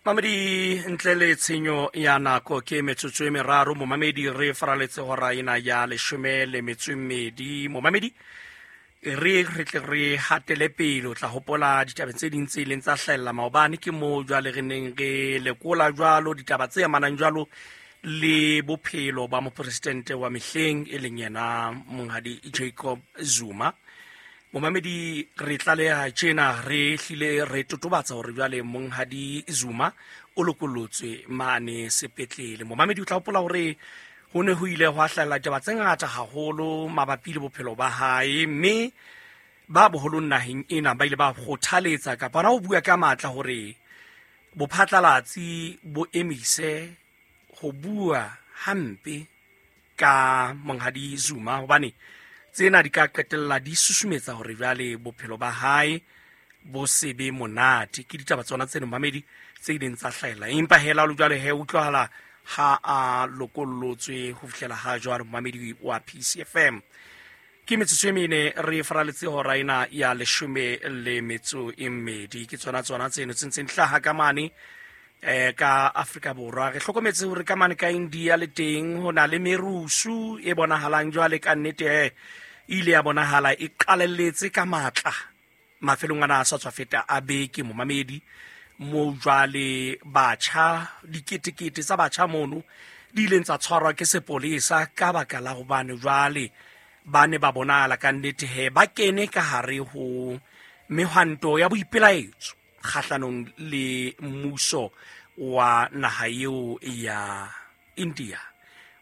Mamedi, ntle le tshenyo ya nako, ke metsotso e meraro, momamedi, re faraletse hora ena ya 12. Momamedi, re tle re hatele pele. O tla hopola ditabeng tse ding tse ileng tsa hlahella maobane, ke moo jwale re neng re lekola jwalo ditaba tse amanang jwalo le bophelo ba mopresidente wa mehleng, e leng yena monghadi Jacob Zuma. Momamedi, re tlaleha tjena, re hlile re totobatsa hore jwale monghadi Zuma o lokolotswe mane sepetlele. Momamedi, o tla hopola hore ho ne ho ile hwa hlahella ditaba tse ngata haholo mabapi le bophelo ba hae, mme ba boholong naheng ena ba ile ba kgothaletsa kapa hona ho bua ka matla hore bophatlalatsi bo emise ho bua hampe ka monghadi Zuma, hobane tsena di ka qetella di susumetsa hore jwale bophelo ba hae bo se be monate. Ke ditaba tsona tseno, mamedi, tse ileng tsa hlahella. Empa hela lo jwale he utlwahala ha a lokollotswe ho fihlela ha jwale, momamedi wa PCFM. Ke metsotso e mene re faraletse hora ena ya 12. Ke tsona tseno tse ntseng hlaha ka mane ka Afrika Borwa. Re hlokometse hore ka mane ka India le teng ho na le merusu e bonahalang jwale ka nnete, e ile ya bonahala e qalelletse ka matla mafelong ana a sa tswa feta a beke, momamedi, mo jwale batjha, diketekete tsa batjha mono di ileng tsa tshwarwa ke sepolesa ka baka la hobane jwale ba ne ba bonahala ka nnete he ba kene ka hare ho mehwanto ya boipelaetso kgahlanong le mmuso wa naha eo ya India.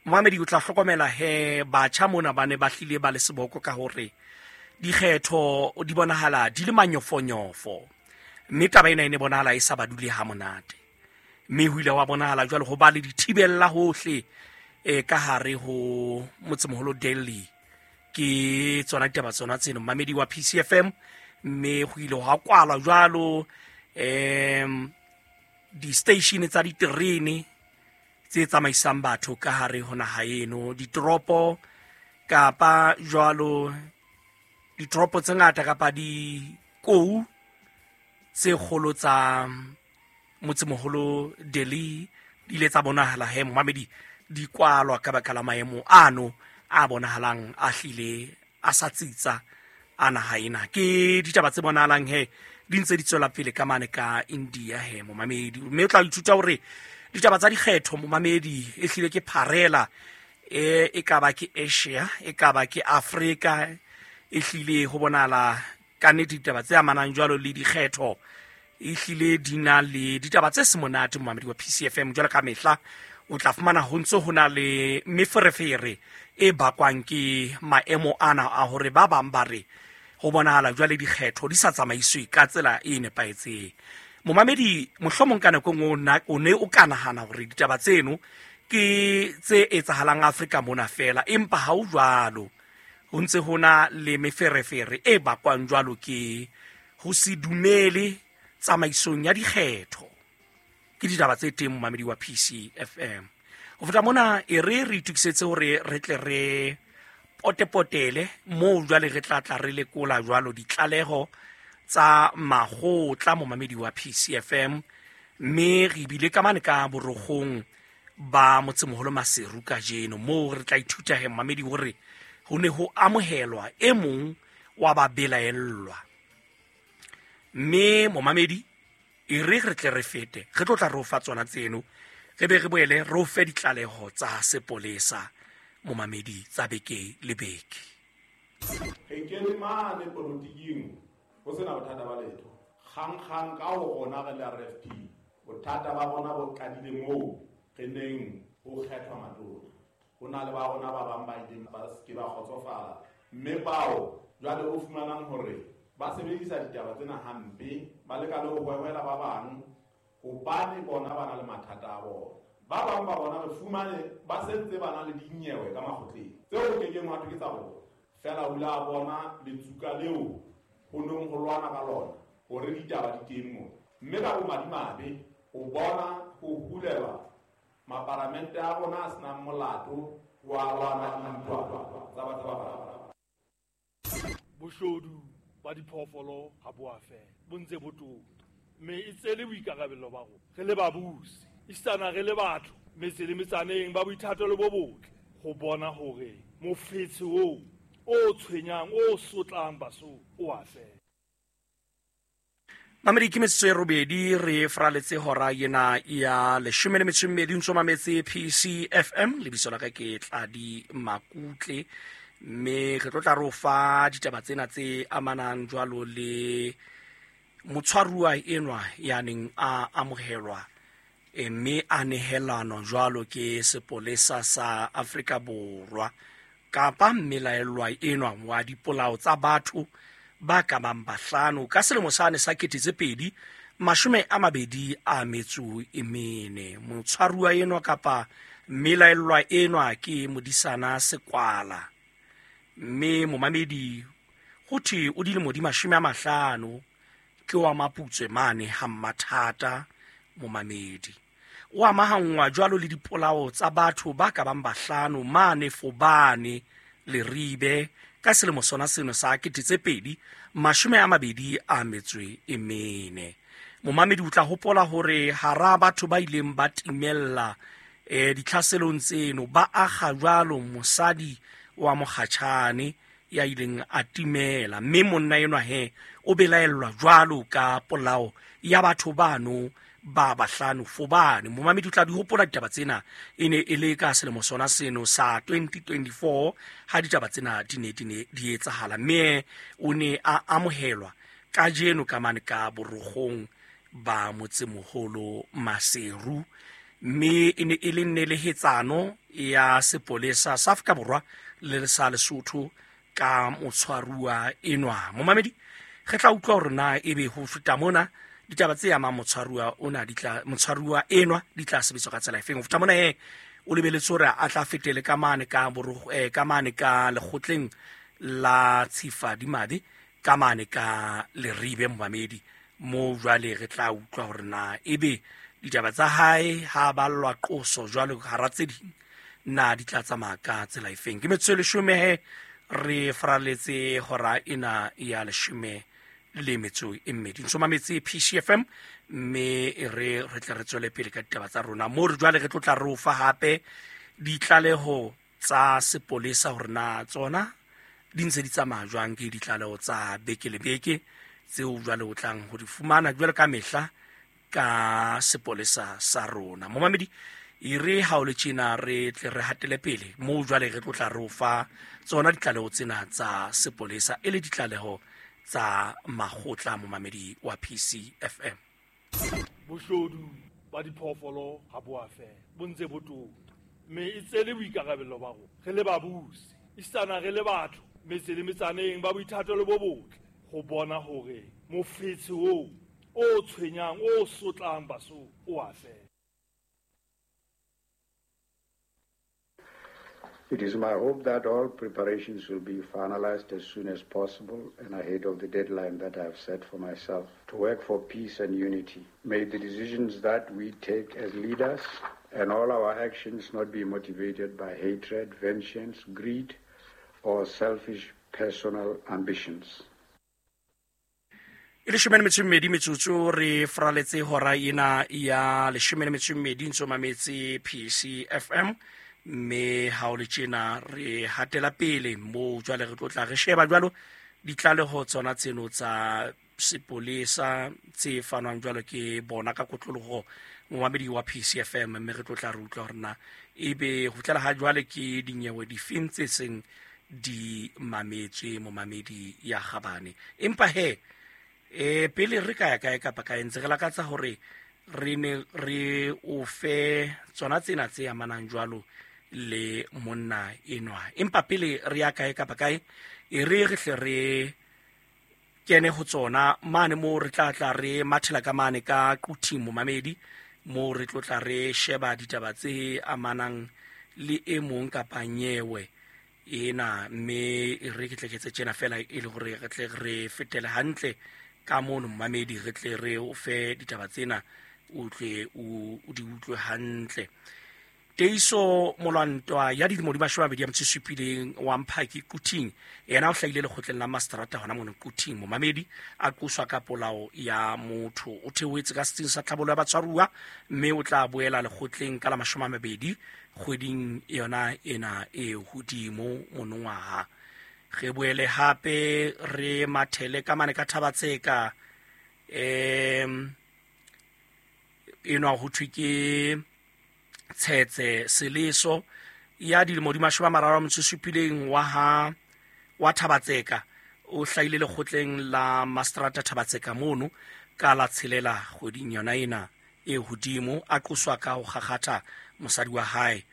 Momamedi, o tla hlokomela he batjha mona ba ne ba hlile ba le seboko ka hore dikgetho di bonahala di le manyofonyofo, mme taba ena e ne bonahala e sa ba dule ha monate, mme ho ile wa bonahala jwale ho ba le dithibella hohle ka hare ho motsemoholo Delhi. Ke tsona ditaba tsona tseno, mamedi wa PCFM, mme ho ile hwa kwalwa jwalo di-station tsa diterene tse tsamaisang batho ka hare ho naha eno, ditoropo kapa jwalo ditoropo tse ngata kapa dikou tse kgolo tsa motsemoholo Delhi di ile tsa bonahala he, momamedi, di kwalwa ka baka la maemo ano a bonahalang a hlile a sa tsitsa a naha ena. Ke ditaba tse bonahalang he di ntse di tswela pele ka mane ka India he, momamedi, mme o tla ithuta hore ditaba tsa dikgetho, momamedi, e hlile ke pharela, e ka ba ke Asia, e ka ba ke Afrika, e hlile ho bonahala ka nnete ditaba tse amanang jwalo le dikgetho e hlile di na le ditaba tse se monate, momamedi wa PCFM. Jwalo ka mehla o tla fumana ho ntse ho na le meferefere e bakwang ke maemo ana a hore ba bang ba re ho bonahala jwale dikgetho di sa tsamaiswe ka tsela e nepahetseng. Momamedi, mohlomong ka nako nngwe o ne o ka nahana hore ditaba tseno ke tse etsahalang Afrika mona fela, empa ha o jwalo. Ho ntse ho na le meferefere e bakwang jwalo ke ho se dumele tsamaisong ya dikgetho. Ke ditaba tse teng, momamedi wa PCFM. Ho feta mona, e re re itokisetse hore re tle re potepotele moo jwale re tla tla re lekola jwalo ditlaleho tsa makgotla, momamedi wa PCFM, mme re bile ka mane ka borogong ba motsemoholo Maseru kajeno, moo re tla ithuta he, momamedi, hore ho ne ho amohelwa e mong wa ba belaellwa. Mme momamedi, e re re tle re fete, re tlo tla re o fa tsona tseno, re be re boele re o fe ditlaleho tsa sepolesa, momamedi, tsa beke le beke. Re kene mane polotiking ho sena bothata ba letho. Kgang-kgang ka ho rona re le RFP, bothata ba rona bo qadile moo re neng ho kgethwa matona. Ho na le ba rona ba bang ba ileng ba se ke ba kgotsofala, mme bao jwale o fumanang hore ba sebedisa ditaba tsena hampe, ba leka le ho hwehwela ba bang hobane bona ba na le mathata a bona. Ba bang ba bona re fumane ba sentse ba na le dinyewe ka makgotleng tseo ho kekeng hwa thwe ke tsa bona. Feela o ile a bona letsuka leo ho neng ho lwana ka lona hore ditaba di teng mona. Mme ka bomadimabe o bona ho hulelwa maparamente a rona a senang molato wa lwana dintwa tsa batho ba bang. Boshodu ba diphoofolo ha bo a fela, bo ntse bo tota. Mme e tsele boikarabello ba rona re le babusi, esitana re le batho metse le metsaneng ba boithatelo bo botle ho bona hore mofetshe oo o tshwenyang, o sotlang Basotho o a fela. Mamedi, ke metsotso e robedi re fraletse hora ena ya 12 ntso mametse PCFM. Lebitso la ka ke Tladi Makutle, mme re tlo tla re o fa ditaba tsena tse amanang jwalo le motshwaruwa enwa ya neng a amohelwa, mme a nehelanwa jwalo ke sepolesa sa Afrika Borwa kapa mmelaellwa enwa wa dipolao tsa batho ba ka bang bahlano ka selemo sane sa 2024. Motshwaruwa enwa kapa mmelaellwa enwa ke Modisana Sekwala, mme momamedi ho thwe o dilemo di 50, ke wa Maputswe mane ha Mmathata. Momamedi o amahanngwa jwalo le dipolao tsa batho ba ka bang bahlano mane Fobane Leribe ka selemo sona seno sa 2024. Momamedi o tla hopola hore hara batho ba ileng ba timella ditlhaselong tseno ba akga jwalo mosadi wa mokgatjhane ya ileng a timela, mme monna enwa he o belaellwa jwalo ka polao ya batho bano ba bahlano Fobane. Momamedi o tla di hopola ditaba tsena, e ne e le ka selemo sona seno sa 2024 ha ditaba tsena di ne di etsahala, mme o ne a amohelwa kajeno ka mane ka borogong ba motsemoholo Maseru, mme e ne e le nelehetsano ya sepolesa sa Afrika Borwa le sa Lesotho ka motshwaruwa enwa. Momamedi, re tla utlwa hore na ebe ho feta mona ditaba tse amang motshwaruwa ona di tla, motshwaruwa enwa di tla sebetswa ka tsela efeng. Ho feta mona he o lebeletse hore a tla fetele ka mane ka ka mane ka lekgotleng la Tshifadimabe ka mane ka Leribe. Momamedi, mo jwale re tla utlwa hore na ebe ditaba tsa hae ha ballwa qoso jwalo hara tse ding na di tla tsamaya ka tsela efeng. Ke metsotso e 10 he re faraletse hora ena ya 12. Ntso mametse PCFM, mme re tle re tswele pele ka ditaba tsa rona mo re jwale re tlo tla re o fa hape ditlaleho tsa sepolesa hore na tsona di ntse di tsamaya jwang. Ke ditlaleho tsa beke le beke tseo jwale o tlang ho di fumana jwale ka mehla ka sepolesa sa rona. Momamedi, e re ha o le tjena re tle re hatele pele mo jwale re tlo tla re o fa tsona ditlaleho tsena tsa sepolesa e le ditlaleho tsa makgotla. Momamedi wa PCFM, boshodu ba diphoofolo ha bo a fela, bo ntse bo tota, mme e tsele boikarabello ba rona re le babusi, esitana re le batho metse le metsaneng ba boithatelo bo botle ho bona hore mofetshe oo o tshwenyang, o sotlang Basotho o a fela. It is my hope that all preparations will be finalized as soon as possible and ahead of the deadline that I have set for myself to work for peace and unity. May the decisions that we take as leaders and all our actions not be motivated by hatred, vengeance, greed, or selfish personal ambitions. E 12 metsotso re fraletse hora ena ya 12 ntso mametse PCFM, mme ha o le tjena re hatela pele mo jwale re tlo tla re sheba jwalo ditlaleho tsona tseno tsa sepolesa tse fanwang jwalo ke bona ka kotloloho momamedi wa PCFM, mme re tlo tla re utlwa hore na ebe ho tlela ha jwale ke dinyewe difeng tse seng di mametswe momamedi ya Gabane. Empa he pele re ka ya kae kapa kae ntse re lakatsa hore re ne re o fe tsona tsena tse amanang jwalo le monna enwa. Empa pele re ya kae kapa kae e re re hle re kene ho tsona mane mo re tla tla re mathela ka mane ka Quthing momamedi, mo re tlo tla re sheba ditaba tse amanang le e mong kapa nyewe ena, mme re ke tle ke tse tjena fela e le hore re tle re fetele hantle ka mono momamedi, re tle re o fe ditaba tsena o tle o di utlwe hantle. Teiso Molwantwa ya dilemo di 27 wa Mphaki Quthing, yena o hlahile lekgotleng la mastrata hona mono Quthing. Momamedi a qoswa ka polao ya motho, o theohetse ka setsing sa tlhabollo ya batshwaruwa, mme o tla boela lekgotleng ka la 20 kgweding yona ena e hodimo monongwaha. Re boele hape re mathele ka mane ka Thabatseka, enwa ho thwe ke Tshetse Seleso ya dilemo di 37 wa Thabatseka, o hlahile lekgotleng la mastrata Thabatseka mono ka la 6 kgweding yona ena e hodimo, a qoswa ka ho kgakgatha mosadi wa hae,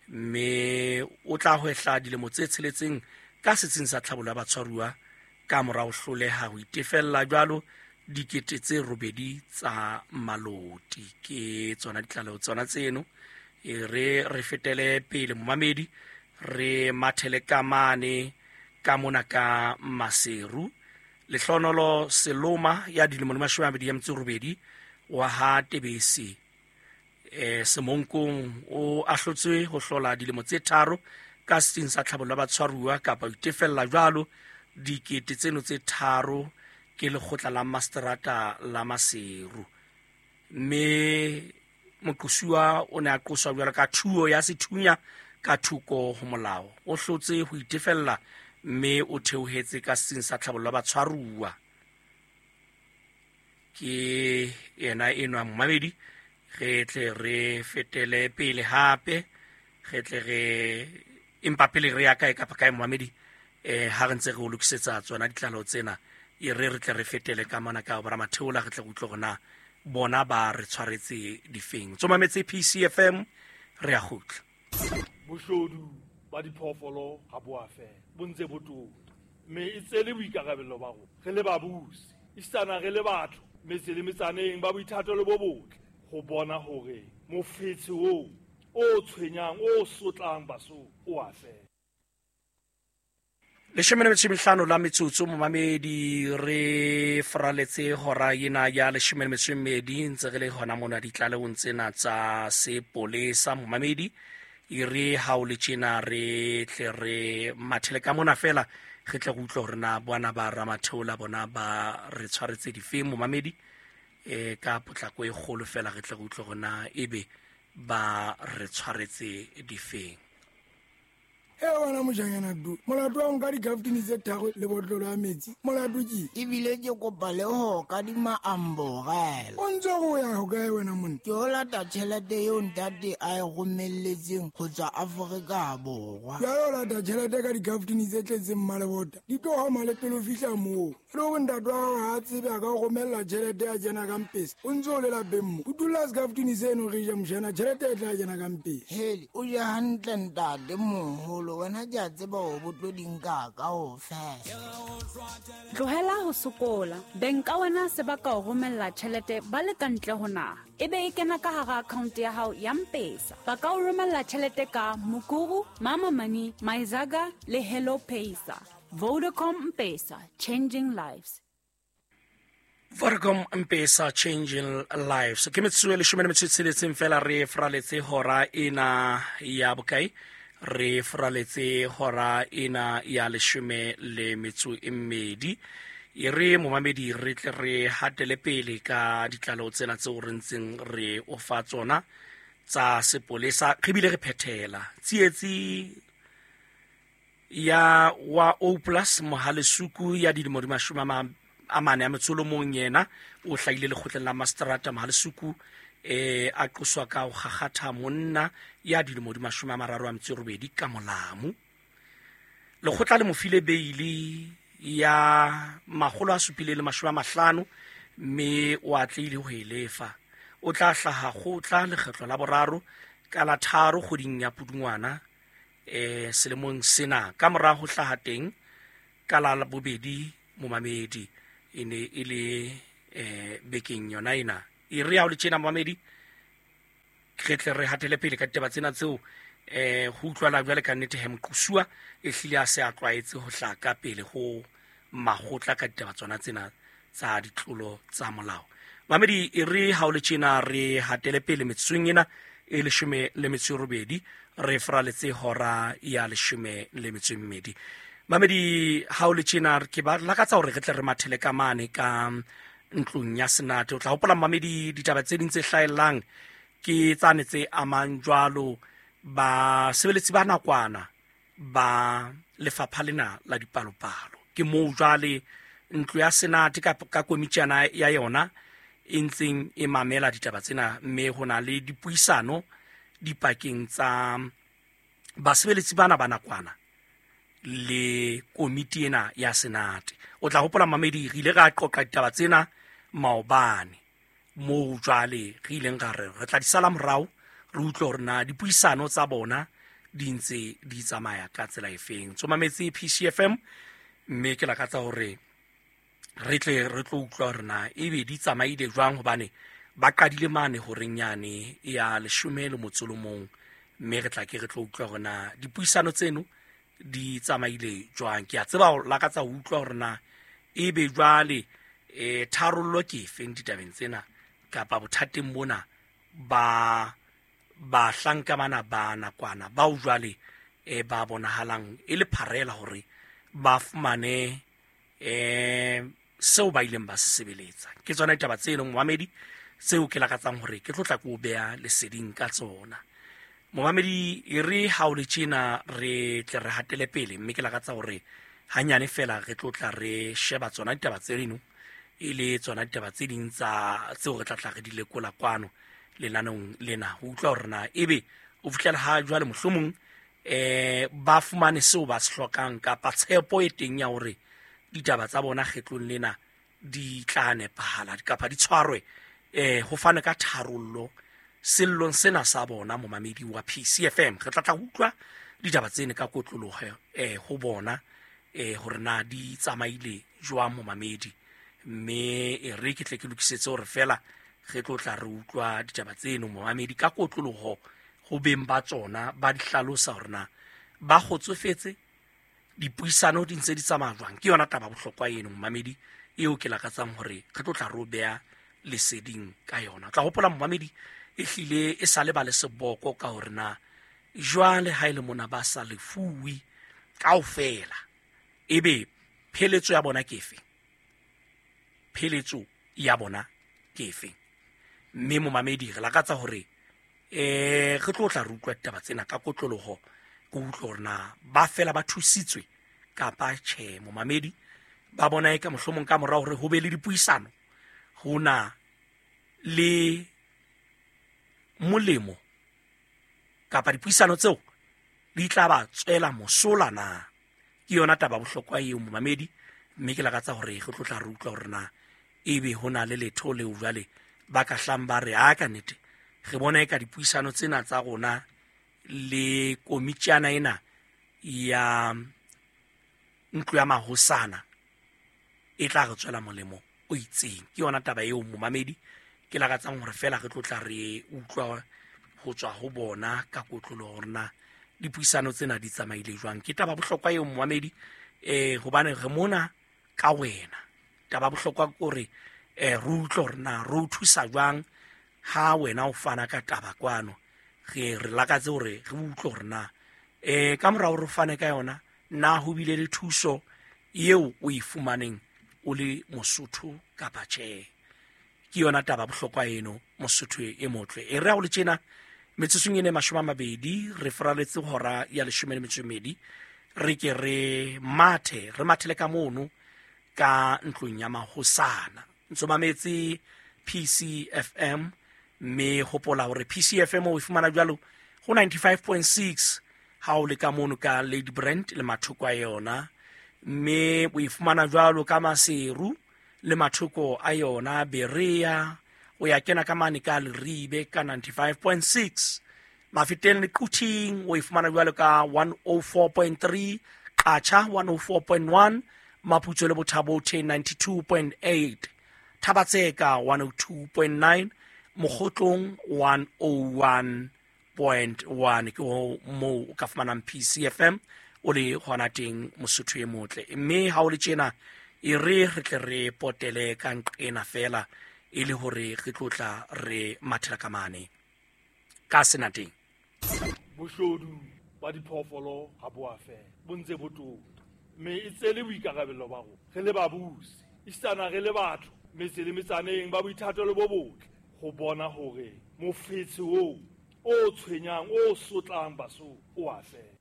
mme o tla hwehla dilemo tse 6 ka setsing sa tlhabollo ya batshwaruwa ka mora ho hloleha ho itefella jwalo 8,000 tsa maloti. Ke tsona ditlaleho tsona tseno. E re fetele pele momamedi, re mathele ka mane ka mona ka Maseru. Lehlonolo Seloma ya dilemo di 28 wa ha Tebese Semonkong, o ahlotswe ho hlola dilemo tse 3 ka setsing sa tlhabollo ya batshwaruwa kapa ho itefella jwalo 3,000 tseno ke lekgotla la mastrata la Maseru. Mme moqosuwa o ne a qoswa jwalo ka thuo ya sethunya ka thoko ho molao, o hlotse ho itefella mme o theohetse ka setsing sa tlhabollo ya batshwaruwa. Ke yena enwa momamedi. Re tle re fetele pele hape, re tle re empa pele re ya kae kapa kae momamedi, ha re ntse re o lokisetsa tsona ditlaleho tsena, e re tle re fetele ka mona ka bora Matheola, re tle re utlwe hore na bona ba re tshwaretse difeng. Tsomametse PCFM, re a kgutla. Boshodu ba diphoofolo ha bo a fela, bo ntse bo tota, mme e tsele boikarabello ba rona re le babusi, esitana re le batho metse le metsaneng ba boithato le bo botle, ho bona hore mofetshe oo o tshwenyang o sotlang Basotho o a fela. 15 la metsotso momamedi, re fraletse hora ena ya 12 ntse re le hona mona ditlalehong tsena tsa sepolesa momamedi. E re ha o le tjena re tle re mathele ka mona fela, re tle re utlwe hore na bona ba Ramatheola bona ba re tshwaretse difeng momamedi, ka potlako e kgolo fela re tle re utlwe hore na ebe ba re tshwaretse difeng. E wena mojanyana du, molato wa nka dikaftini tse 3 le botlolo ya metsi, molato ke ebile ke kopa le ho kadima amborela. O ntse go ya ho kae wena monna? Ke o lata tjhelete eo ntate a e romelletseng ho tswa Afrika Borwa. Jwale o lata tjhelete ka dikaftini tse tletseng mmalebota, di tlo hama le pele o fihla moo. E le hore ntate wa hao ha a tsebe a ka o romella tjhelete ya kena ka mpese, o ntse o le lapeng mo. O dula sekaftini seno re ja mojana, tjhelete e tla kena ka mpese. Hele, o je hantle ntate moholo, wena ke a tseba hore bo tlo di nka kaofela. Tlohela ho sokola, beng ka wena se ba ka o romella tjhelete ba le ka ntle ho naha, ebe e kena ka hara account ya hao ya M-Pesa. Ba ka o romella tjhelete ka Mukuru, Mama Money, Myzaga le Hello Pesa. Vodacom M-Pesa, changing lives. Vodacom M-Pesa, changing lives. Ke metsotso e 16 fela re fraletse hora ena ya bokae? Re fraletse hora ena ya 12. E re momamedi re tle re hatele pele ka ditlaleho tsena tseo re ntseng re o fa tsona tsa sepolesa, re bile re phethela tsietsi ya wa O plus Mohalesuku ya dilemo di 41 yena o hlahile lekgotleng la mastrata Mohalesuku, a qoswa ka ho kgakgatha monna ya dilemo di 38 ka molamu. Lekgotla le mo file beili ya 750 mme o atlehile ho e lefa. O tla hlaha kgotla lekgetlo la boraro ka la 3 kgweding ya Pudungwana selemong sena, ka mora ho hlaha teng ka la bobedi momamedi e ne e le bekeng yona ena. E re ha o le tjena momamedi, re tle re hatele pele ka ditaba tsena tseo ho utlwala jwale ka nnete he moqosuwa e hlile a se a tlwaetse ho hlaha ka pele ho makgotla ka ditaba tsona tsena tsa ditlolo tsa molao. Mamedi, e re ha o le tjena re hatele pele metsotsong ena e 18 re fraletse hora ya 12. Mamedi ha o le tjena ke ba lakatsa hore re tle re mathele ka mane ka ntlong ya Senate. O tla hopola mamedi ditaba tse ding tse hlahellang ke tsane tse amang jwalo basebeletsi ba nakwana ba lefapha lena la dipalopalo. Ke moo jwale ntlo ya Senate ka komitjana ya yona e ntseng e mamela ditaba tsena, mme ho na le dipuisano dipakeng tsa basebeletsi bana ba nakwana le komiti ena ya Senate. O tla hopola mamedi re ile ra qoqa ditaba tsena maobane, moo jwale re ileng ra re re tla di sala morao re utlwe hore na dipuisano tsa bona di ntse di tsamaya ka tsela efeng. Tsomametse PCFM, mme ke lakatsa hore re tle re tlo utlwa hore na ebe di tsamaile jwang, hobane ba qadile mane horeng yane ya 11, mme re tla ke re tlo utlwa hore na dipuisano tseno di tsamaile jwang. Ke a tseba ho lakatsa ho utlwa hore na ebe jwale tharollo ke efeng ditabeng tsena kapa bothateng bona ba bahlanka bana ba nakwana bao jwale ba bonahalang e le pharela hore ba fumane seo ba ileng ba se sebeletsa. Ke tsona ditaba tseno momamedi tseo ke lakatsang hore ke tlo tla ko beha leseding ka tsona. Momamedi e re ha o le tjena re tle re hatele pele, mme ke lakatsa hore hanyane fela re tlo tla re sheba tsona ditaba tseno e le tsona ditaba tse ding tsa tseo re tla tla re di lekola kwano lenaneong lena, ho utlwa hore na ebe o fihlela ha jwale mohlomong ba fumane seo ba se hlokang kapa tshepo e teng ya hore ditaba tsa bona kgetlong lena di tla nepahala kapa di tshwarwe ho fane ka tharollo sellong sena sa bona. Momamedi wa PCFM, re tla tla utlwa ditaba tsene ka kotloloho ho bona hore na di tsamaile jwang momamedi, mme e re ke tle ke lokisetse hore fela re tlo tla re utlwa ditaba tseno momamedi ka kotloloho ho beng ba tsona, ba di hlalosa hore na ba kgotsofetse, dipuisano di ntse di tsamaya jwang. Ke yona taba bohlokwa eno momamedi eo ke lakatsang hore re tlo tla re o beha leseding ka yona. O tla hopola momamedi e hlile e sa le ba le seboko ka hore na jwale ha ile mona ba sa lefuwe kaofela, ebe pheletso ya bona ke efe? Pheletso ya bona ke efe? Mme momamedi re lakatsa hore re tlo tla re utlwa ditaba tsena ka kotloloho, ke utlwe hore na ba fela ba thusitswe kapa tjhe. Momamedi ba bona e ka mohlomong ka morao hore ho be le dipuisano ho na le molemo kapa dipuisano tseo di tla ba tswela mosola na. Ke yona taba bohlokwa eo momamedi, mme ke lakatsa hore re tlo tla re utlwa hore na ebe ho na le letho leo jwale ba ka hlang ba re a ka nnete re bona e ka dipuisano tsena tsa rona le komitjana ena ya ntlo ya mahosana e tla re tswela molemo o itseng. Ke yona taba eo momamedi ke lakatsang hore fela re tlo tla re utlwa ho tswa ho bona ka kotlolo hore na dipuisano tsena di tsamaile jwang. Ke taba bohlokwa eo momamedi hobane re mona ka wena. Taba bohlokwa ke hore re utlwe hore na re o thusa jwang ha wena o fana ka taba kwano. Re lakatse hore re utlwe hore na ka morao re fane ka yona na ho bile le thuso eo o e fumaneng o le Mosotho kapa tjhe. Ke yona taba bohlokwa eno Mosotho e motle. E re ha o le tjena metsotsong e 20 re fraletse hora ya 12, re ke re mathe re mathele ka mono ka ntlong ya mahosana. Ntso mametse PCFM, mme hopola hore PCFM o e fumana jwalo ho 95.6 ha o le ka mono ka Lady Brand le mathoko a yona, mme o e fumana jwalo ka Maseru le mathoko a yona Berea, o ya kena ka mane ka Leribe ka 95.6, Mafeteng le Quthing o e fumana jwalo ka 104.3, Qacha 104.1, Maputso le Bothabothe 92.8, Thabatseka 102.9, Mokgotlong 101.1. Ke ho moo o ka fumanang PCFM o le hona teng Mosotho e motle. Mme ha o le tjena e re re tle re potele ka nqena fela e le hore re tlo tla re mathela ka mane Ka senateng. Boshodu ba diphoofolo ha bo a fela, bo ntse bo tota, mme e tsele boikarabello ba rona re le babusi, esitana re le batho metse le metsaneng ba boithatelo bo botle ho bona hore mofetshe oo o tshwenyang o sotlang Basotho o a fela.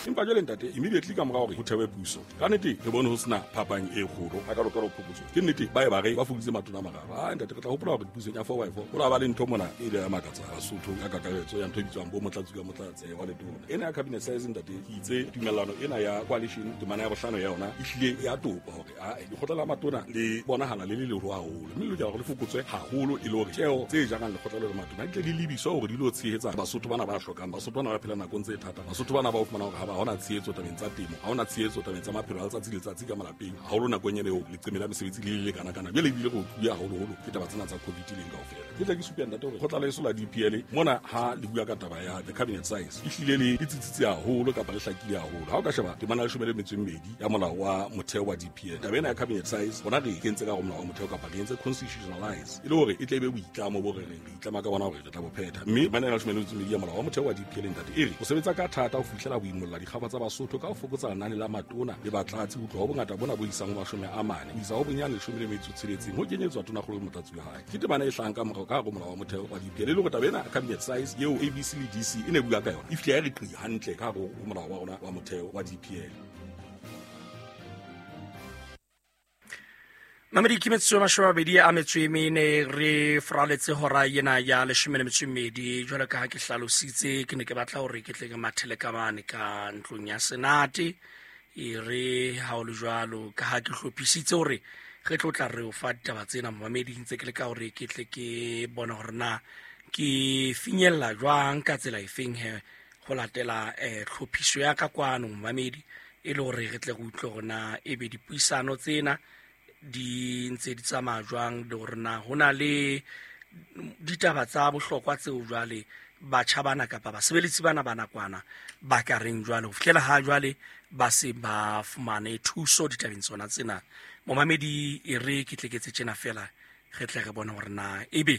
Empa jwale ntate, immediately ka mora hore ho thewe puso, ka nnete re bone ho sena phapang e kgolo a ka lokela ho phokotso. Ke nnete ba e ba re ba fokoditse matona a mararo. A ntate, re tla hopola hore pusong ya 4x4 ho la ba le ntho mona e ile ya makatsa Basotho ka kakaretso ya ntho e bitswang bo motlatsi ka motlatse wa letona. Ena ya cabinet size, ntate, ke itse tumellano ena ya coalition temana ya bohlano ya yona e hlile ya topa hore a lekgotla la matona le bonahala le le leholo haholo, mme le lokela hore le fokotswe haholo e le hore tjeo tse jarang lekgotla le matona di tle di lebiswe hore di lo tshehetsa Basotho bana ba hlokang, Basotho bana ba phelang nakong tse thata, Basotho bana ba o fumana hore ha ba hona tshehetso tabeng tsa temo, ha hona tshehetso tabeng tsa maphelo a letsatsi le letsatsi ka malapeng, haholo nakong ena eo leqeme la mesebetsi le le lekana-kana. Jwale ebile re otluwe haholoholo ke taba tsena tsa COVID leng kaofela. Ke tla ke supe ntate hore kgotla leso la DPL mona ha le bua ka taba ya the cabinet size e hlile le tsitsitse haholo kapa le hlakile haholo. Ha o ka sheba temana ya 12 ya molao wa motheo wa DPL, taba ena ya cabinet size rona re e kentse ka hare ho molao wa motheo kapa re entse constitutionalize e le hore e tle e be boitlamo bo re reng re itlama ka bona hore re tla bo phetha. Mme temana ya 12 ya molao wa motheo wa DPL, ntate, e re ho sebetsa ka thata ho fihlela ho imolla dikgafa tsa Basotho ka ho fokotsa lenane la matona le batlatsi ho tloha ho bongata bona bo isang ho 40 ho isa ho bonyane 16 ho kenyetswa tonakgolo le motlatsi wa hae. Ke temana e hlahang ka morao ka hare ho molao wa motheo wa DPL, e le hore taba ena cabinet size eo ABC le DC e ne bua ka yona e fihle ya re qi hantle ka hare ho molao wa rona wa motheo wa DPL. Mamedi, ke metsotso e 24 re foraletse hora ena ya 12. Jwalo ka ha ke hlalositse, ke ne ke batla hore ke tle ke mathele ka mane ka ntlong ya senate. E re ha o le jwalo, ka ha ke hlophisitse hore re tlo tla re o fa ditaba tsena momamedi, ntse ke le ka hore ke tle ke bone hore na ke finyella jwang ka tsela efeng he ho latela tlhophiso ya ka kwano momamedi, e le hore re tle re utlwe hore na ebe dipuisano tsena di ntse di tsamaya jwang, le hore na ho na le ditaba tsa bohlokwa tseo jwale batjha bana kapa basebeletsi bana ba nakwana ba ka reng jwale ho fihlela ha jwale ba se ba fumane thuso ditabeng tsona tsena. Momamedi, e re ke tleketse tjena fela re tle re bone hore na ebe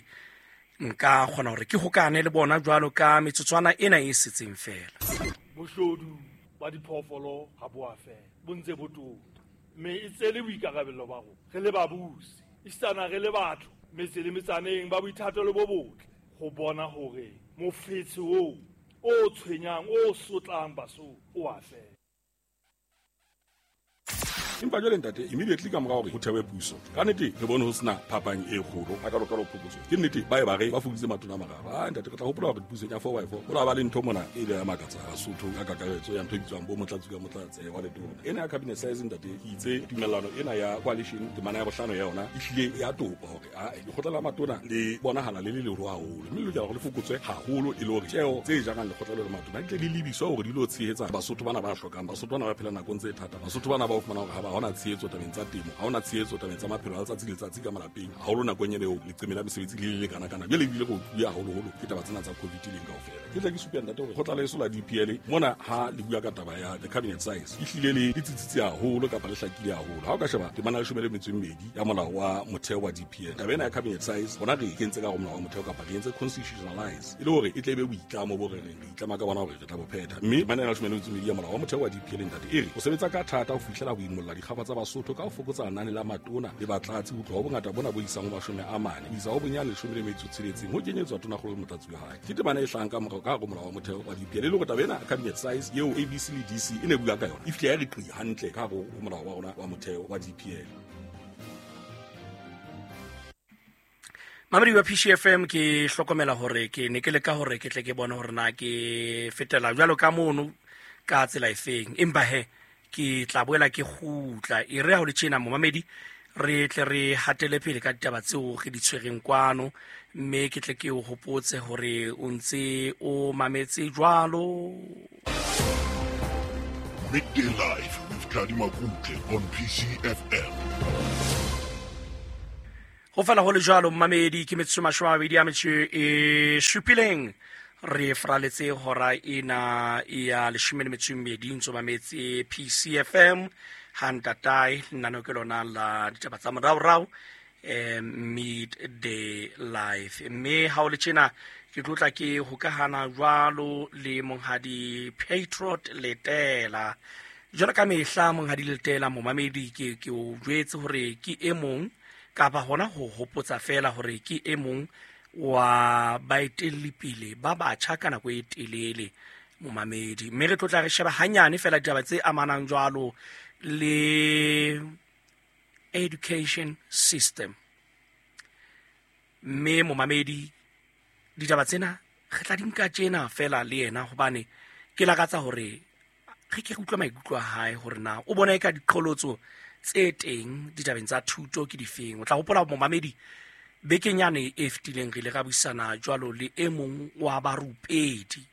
nka kgona hore ke hokane le bona jwalo ka metsotswana ena e setseng fela. Boshodu ba diphoofolo ha bo a fela, bo ntse bo tota, mme e tsele boikarabello ba rona re le babusi, esitana re le batho metse le metsaneng ba boithatelo bo botle ho bona hore mofetshe oo o tshwenyang o sotlang Basotho o a fela. Empa jwale ntate, immediately ka mora hore ho thewe puso, ka nnete re bone ho sena phapang e kgolo a ka lokela ho phokotso. Ke nnete ba e ba re ba fokoditse matona a mararo. A ntate, re tla hopola hore pusong ya 4x4 ho la ba le ntho mona e ile ya makatsa Basotho ka kakaretso ya ntho e bitswang bo motlatsi ka motlatse wa letona. Ena ya cabinet size, ntate, ke itse tumellano ena ya coalition temana ya bohlano ya yona e hlile ya topa hore a lekgotla la matona le bonahala le le leholo haholo, mme le lokela hore le fokotswe haholo e le hore tjeo tse jarang lekgotla le matona di tle di lebiswe hore di lo tshehetsa Basotho bana ba hlokang, Basotho bana ba phelang nakong tse thata, Basotho bana ba o fumana hore ha ba hona tshehetso tabeng tsa temo, ha hona tshehetso tabeng tsa maphelo a letsatsi le letsatsi ka malapeng, haholo nakong ena eo leqeme la mesebetsi le le lekana-kana. Jwale ebile re otluwe haholoholo ke taba tsena tsa COVID leng kaofela. Ke tla ke supe ntate hore kgotla leso la DPL mona ha le bua ka taba ya the cabinet size e hlile le tsitsitse haholo kapa le hlakile haholo. Ha o ka sheba temana ya 12 ya molao wa motheo wa DPL, taba ena ya cabinet size rona re e kentse ka hare ho molao wa motheo kapa re entse constitutionalize e le hore e tle e be boitlamo bo re reng re itlama ka bona hore re tla bo phetha. Mme temana ya 12 ya molao wa motheo wa DPL, ntate, e re ho sebetsa ka thata ho fihlela ho imolla dikgafa tsa Basotho ka ho fokotsa lenane la matona le batlatsi ho tloha ho bongata bona bo isang ho 40 ho isa ho bonyane 16 ho kenyetswa tonakgolo le motlatsi wa hae. Ke temana e hlahang ka morao ka hare ho molao wa motheo wa DPL, e le hore taba ena cabinet size eo ABC le DC e ne bua ka yona e fihle ya re qi hantle ka hare ho molao wa rona wa motheo wa DPL. Mamedi wa PCFM, ke hlokomela hore ke ne ke leka hore ke tle ke bone hore na ke fetela jwalo ka mono ka tsela efeng, empa he ke tla boela ke kgutla. E re ha ho le tjena momamedi, re tle re hatele pele ka ditaba tseo re di tshwereng kwano, mme ke tle ke o hopotse hore o ntse o mametse jwalo. Midday Live with Tladi Makutle on PCFM. Ho fela ho le jwalo mmamedi, ke metsotso 27 re fraletse hora ena ya 12 ntso mametse PCFM ha ntatae lenaneo ke lona la ditaba tsa moraorao. Midday Live. Mme ha o le tjena ke tlotla ke hokahana jwalo le Monghadi Patriot Letela. Jwalo ka mehla, Monghadi Letela, momamedi, ke o jwetse hore ke e mong, kapa hona ho hopotsa fela hore ke e mong wa baetellipele ba batjha ka nako e telele, momamedi. Mme re tlotla re sheba hanyane fela ditaba tse amanang jwalo le education system. Mme momamedi, ditaba tsena re tla di nka tjena fela le yena, hobane ke lakatsa hore re ke re utlwe maikutlo a hae hore na o bona e ka diqholotso tse teng ditabeng tsa thuto ke difeng. O tla hopola, momamedi, bekeng yane e fetileng re ile ra buisana jwalo le e mong wa barupedi,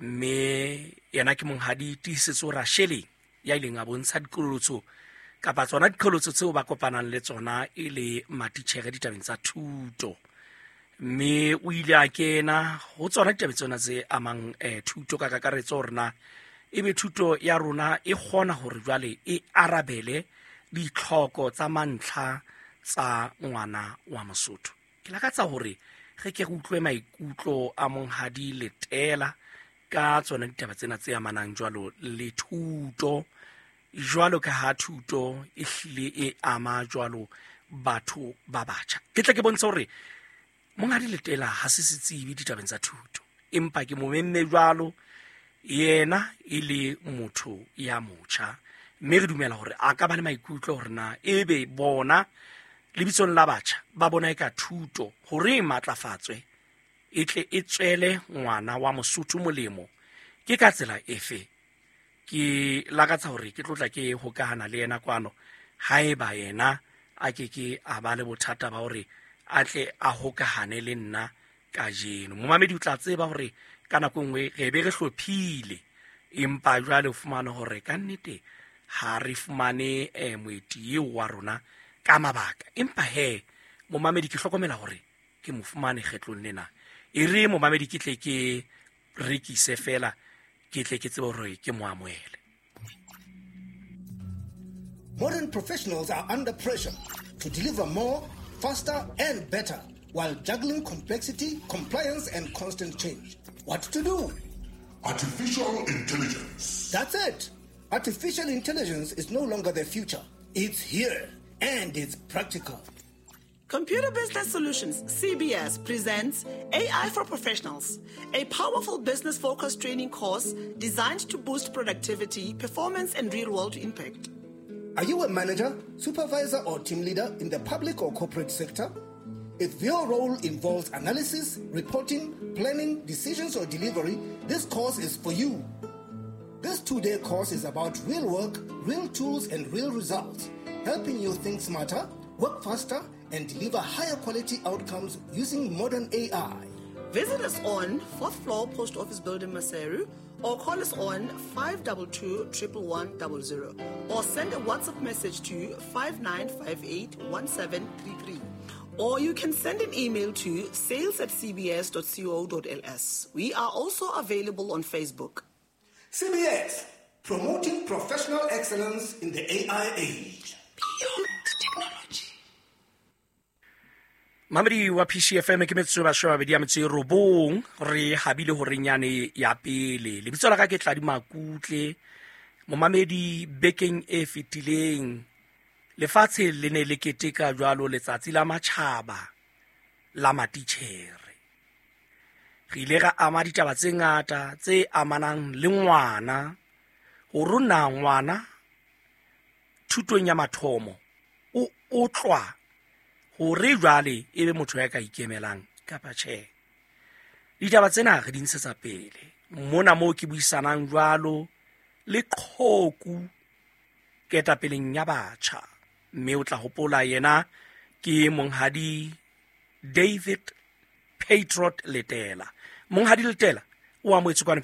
mme yena ke Monghadi Tiisetso Rasheleng, ya ileng a bontsha diqholotso kapa tsona diqholotso tseo ba kopanang le tsona e le matitjhere ditabeng tsa thuto. Mme o ile a kena ho tsona ditabeng tsona tse amang thuto ka kakaretso, hore na ebe thuto ya rona e kgona hore jwale e arabele ditlhoko tsa mantlha tsa ngwana wa Mosotho. Ke lakatsa hore re ke re utlwe maikutlo a Monghadi Letela ka tsona ditaba tsena tse amanang jwalo le thuto, jwalo ka ha thuto e hlile e ama jwalo batho ba batjha. Ke tle ke bontshe hore Monghadi Letela ha se setsebi ditabeng tsa thuto, empa ke mo memme jwalo yena e le motho ya motjha, mme re dumela hore a ka ba le maikutlo hore na ebe bona lebitsong la batjha ba bona e ka thuto hore e matlafatswe e tle e tswele ngwana wa Mosotho molemo ke ka tsela efe. Ke lakatsa hore ke tlotla ke hokahana le yena kwano, haeba yena a ke ke a ba le bothata ba hore a tle a hokahane le nna kajeno. Momamedi, o tla tseba hore ka nako e nngwe re be re hlophile, empa jwale o fumane hore ka nnete ha re fumane moeti eo wa rona ka mabaka. Empa he, momamedi, ke hlokomela hore ke mo fumane kgetlong lena. E re, momamedi, ke tle ke rekise fela, ke tle ke tsebe hore ke mo amohele. Modern professionals are under pressure to deliver more, faster, and better while juggling complexity, compliance, and constant change. What to do? Artificial intelligence. That's it. Artificial intelligence is no longer the future. It's here and it's practical. Computer Business Solutions, CBS, presents AI for Professionals, a powerful business focused training course designed to boost productivity, performance, and real world impact. Are you a manager, supervisor, or team leader in the public or corporate sector? If your role involves analysis, reporting, planning, decisions, or delivery, this course is for you. This 2-day course is about real work, real tools, and real results, helping you think smarter, work faster, and deliver higher quality outcomes using modern AI. Visit us on 4th floor Post Office Building, Maseru, or call us on 522 11100 or send a WhatsApp message to 5958 1733. Or you can send an email to sales@cbs.co.ls. We are also available on Facebook. CBS, promoting professional excellence in the AI age. Beyond technology. Mamedi wa PCFM, ke metsotso e 29 re habile horeng yane ya pele. Lebitso la ka ke Tladi Makutle. Momamedi, bekeng e fetileng lefatshe le ne le keteka jwalo letsatsi la matjhaba la matitjhere. Re ile ra ama ditaba tse ngata tse amanang le ngwana, hore na ngwana thutong ya mathomo o otlwa hore jwale e be motho ya ka ikemelang kapa tjhe. Ditaba tsena re di ntshetsa pele mona moo ke buisanang jwalo le qhoku ketapeleng ya batjha, mme o tla hopola yena ke Monghadi David Patriot Letela. Monghadi Letela, o amohetswe kwano.